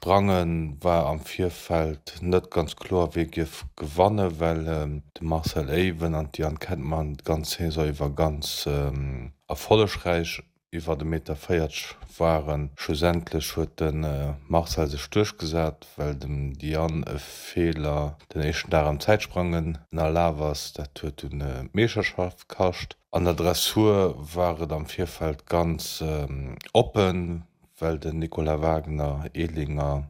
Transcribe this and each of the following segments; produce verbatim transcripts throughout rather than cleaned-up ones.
Sprange war am Virfeld net ganz kloer, wie géif gewannen, well de Marcel Ewen an d'Diane Kettmann d'ganz Saison iwwer ganz erfollegräich iwwer e Meter véierzeg waren. Schlussendlech huet de Marcel sech duerchgesat, well dem Diane e Feeler den éischten Dag am Zäitsprangen ënnerlaf ass. Dat huet dunn d'Meeschterschaft kascht. An der Dressur war et am Virfeld ganz oppen, well den Nicolas Wagner Ehlinger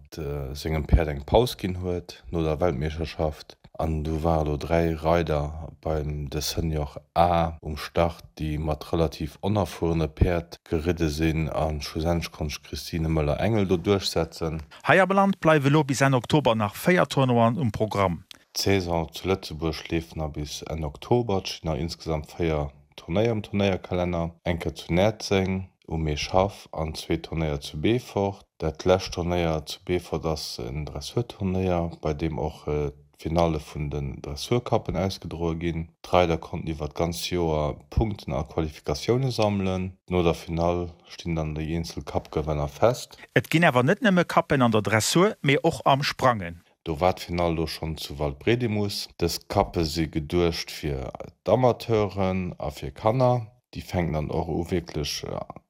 sengem Päerd eng Paus ginn huet no der Weltmeeschterschaft. An du ware lo dräi Reider beim de Senior A um Start, déi mat relativ onerfuerene Päerd geridde sinn. A schlussendlech konnt sech d'Christine Möller-Engel do duerchsetzen. Hei am Land bleiwe lo bis Enn Oktober nach véier Tournoien um Programm. D'Saison zu Lëtzebuerg leeft nach bis Enn Oktober. Et stinn nach insgesamt véier Turnéier um Turnéierkalenner, eng Kéier zu Näerzeng um Meeschhaff an zwee Turnéier zu Beefort. Dat lescht Turnéier zu Beefort ass en Dressurturnéier, bei deem och d'Finalle vun den Dressurcuppen ausgedroe ginn. D'Reider konnten iwwer d'ganz Joer Punkten a Qualifikatioune sammelen. No der Finall stinn dann déi eenzel Cup-Gewënner fest. Et ginn awer net nëmme Cuppen an der Dressur, mee och am Sprangen. Do war d'Finall lo schonn zu Waldbredimus. Dës Cuppe si geduecht fir d'Amateuren a fir Kanner. Déi fänken dann och u wierklech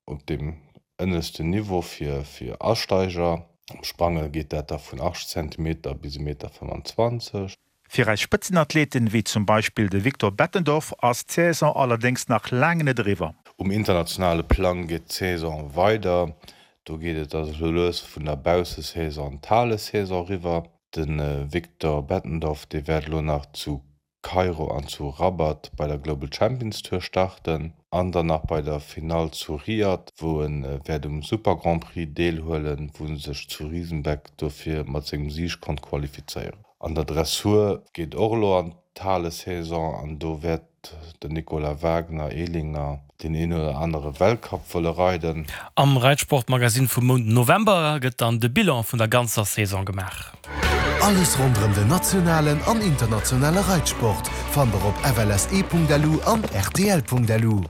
op deem ënneschten Niveau fir Asteiger. Am Sprange geet dat da vun achtzeg Zentimeter bis e Meter fëmmanzwanzeg. Fir eis Spëtzenathleten, wéi zum Beispill de Victor Bettendorf, ass d'Saison allerdéngs nach laang net eriwwer. Um internationale Plang geet d'Saison weider. Do geet et da sou lues vun der Baussesaison an d'Halesaison eriwwer. De Victor Bettendorf, dee wäert elo nach zu Kairo an zu Rabat bei der Global Champions Tour starten an dann nach bei der Finall zu Riyadh, wou e wäert um Super Grand Prix deelhuelen, wou en sech zu Riesenbeck dofir mat sengem Sig konnt qualifizéieren. An der Dressur geet och elo an d'Halesaison an do wäert den Nicolas Wagner, Ehlinger, deen een oder anere Weltcup wëlle reiden. Am Reitsportmagazin vum Mount November gëtt dann de Bilan vun der ganzer Saison gemaach. Alles ronderëm den nationalen an internationale Reitsport fannt der op flse.lu an rtl.lu.